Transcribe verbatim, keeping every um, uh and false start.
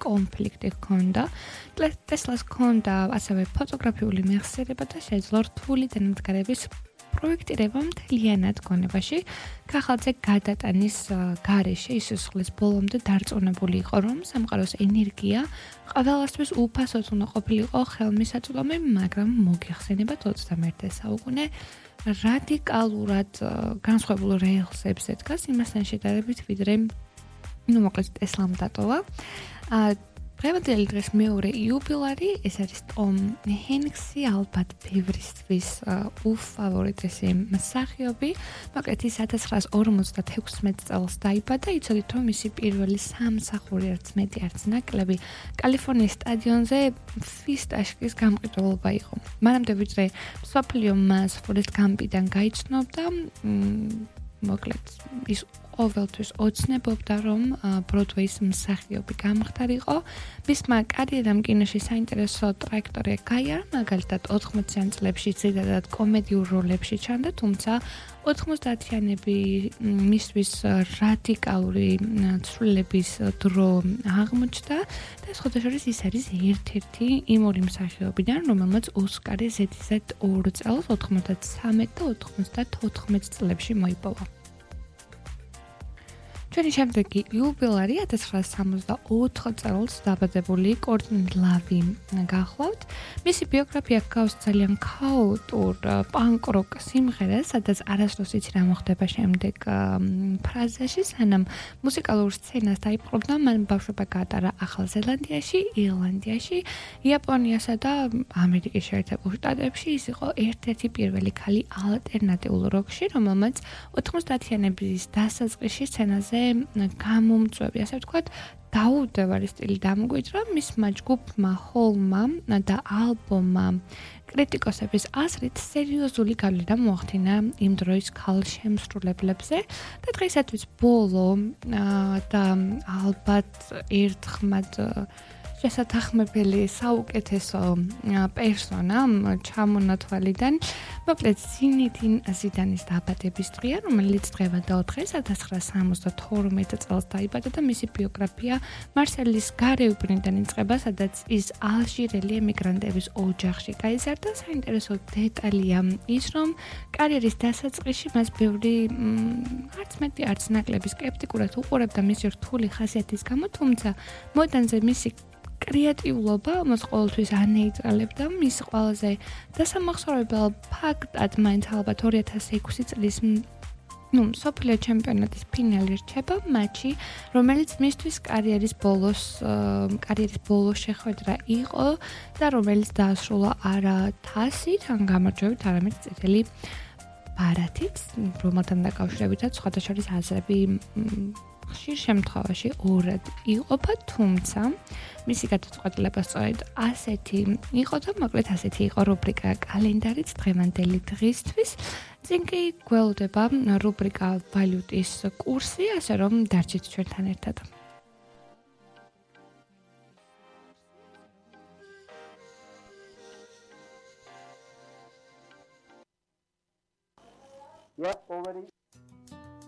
კონფლიქტი ჰქონდა. ტესლას ჰქონდა ასევე ფოტოგრაფიული მეხსიერება და შეძლო რთული დანადგარების პროექტირება მთლიანად გონებაში. ქახალძე გადატანის გარეშე ისუსხლის ბოლომდე დარწმუნებული იყო, რომ სამყაროს ენერგია ყველასთვის უფასოდ უნდა ყოფილიყო ხელმისაწვდომი, მაგრამ მოგეხსენებათ ოცდამეერთე საუკუნე რადიკალურად განსხვავებულ რეალსებს ედგას იმასთან შედარებით, ვიდრე ну, მოკლედ ტესლამ დატოვა. დღევანდელი დღეს მეორე იუბილარი, ეს არის ტომ ჰენქსი, ალბათ ბევრისთვის უფავორიტესი მსახიობი. მოკლედ ის ათას ცხრაას ორმოცდათექვსმეტ წელს დაიბადა. იცოდით, რომ მისი პირველი სამსახური არც მეტი, არც ნაკლები კალიფორნიის სტადიონზე ფისტაშკის გამყიდველობა იყო. მანამდე ვიდრე მსოფლიო მას ფორესტ გამპიდან გაიცნობდა, მოკლედ ის ყოველთვის ოცნებობდა, რომ ბროდვეის მსახიობი გამხდარიყო. მისმა კარიერამ კინოში საინტერესო ტრაექტორია გაიარა, მაგალითად ოთხმოციან წლებში ძირითადად კომედიურ როლებში ჩანდა, თუმცა ოთხმოცდაათიანები მისთვის რადიკალური ცვლილების დრო აღმოჩნდა და სხვადასხვა ის არის ერთ-ერთი იმ ორი მსახიობიდან, რომელმაც ოსკარი ზედიზედ ორ წელს ოთხმოცდათრამეტ და ოთხმოცდათოთხმეტ წლებში მოიპოვა. ჩვენი შემდეგი იუბილარი ათას ცხრაას სამოცდაოთხ წელს დაბადებული კორტნი ლავი გახლავთ. მისი ბიოგრაფია ჰგავს ძალიან ქაოტურ პანკ-როკ სიმღერას, სადაც არასდროს იცი რა მოხდება შემდეგ ფრაზაში, სანამ მუსიკალურ სცენას დაიპყრობდა, მან ბავშვობა გაატარა ახალ ზელანდიაში, ირლანდიაში, იაპონიასა და ამერიკის შეერთებულ შტატებში. ის იყო ერთ-ერთი პირველი ქალი ალტერნატიულ როკში, რომელმაც ოთხმოცდაათიანების დასაწყისში სცენაზე გამომწვევი, ასე ვთქვათ, დაუდევარი სტილი დამოგვიჭრა. მისმა ჯგუფმა ჰოლმა და ალბომმა კრიტიკოსების აზრით სერიოზული გავლენა მოახდინა იმ დროის ქალ შემსრულებლებზე და დღეისათვის ბოლო და ალბათ ერთხმად შესათანხმებელი საუკეთესო პერსონა ჩამონათვალიდან. მოკლედ ზინედინ ზიდანის დაბადების დღეა, რომელიც დღევანდელ დღეს ათას ცხრაას სამოცდათორმეტ წელს დაიბადა და მისი ბიოგრაფია მარსელის გარეუბნიდან იწყება, სადაც ის ალჟირელი ემიგრანტების ოჯახში გაიზარდა. საინტერესო დეტალია ის, რომ კარიერის დასაწყისში მას ბევრი არც მეტი, არც ნაკლები სკეპტიკურად უყურებდა მისი რთული ხასიათის გამო, თუმცა მოედანზე მისი კრეატიულობა მას ყოველთვის ანეიტრალებდა. მის ყველაზე დასამახსოვრებელ ფაქტად მაინც ალბათ ორი ათას ექვსი წლის ну, მსოფლიო ჩემპიონატის ფინალი რჩება მატჩი, რომელიც მისთვის კარიერის ბოლოს კარიერის ბოლოს შეხვედრა იყო და რომელიც დაასრულა არა თასით, ან გამარჯვებით, არამედ წითელი ბარათით, რომელთან დაკავშირებითაც სხვადასხვა აზრები ხშირ შემთხვევაში ორად იყოფა, თუმცა მისი გადაწყვეტილება სწორედ ასეთი იყო და მოკლედ ასეთი იყო რუბრიკა კალენდარიც დღევანდელი დღისთვის. წინ კი გველოდება რუბრიკა ვალუტის კურსი, ასე რომ დარჩით ჩვენთან ერთად. You are already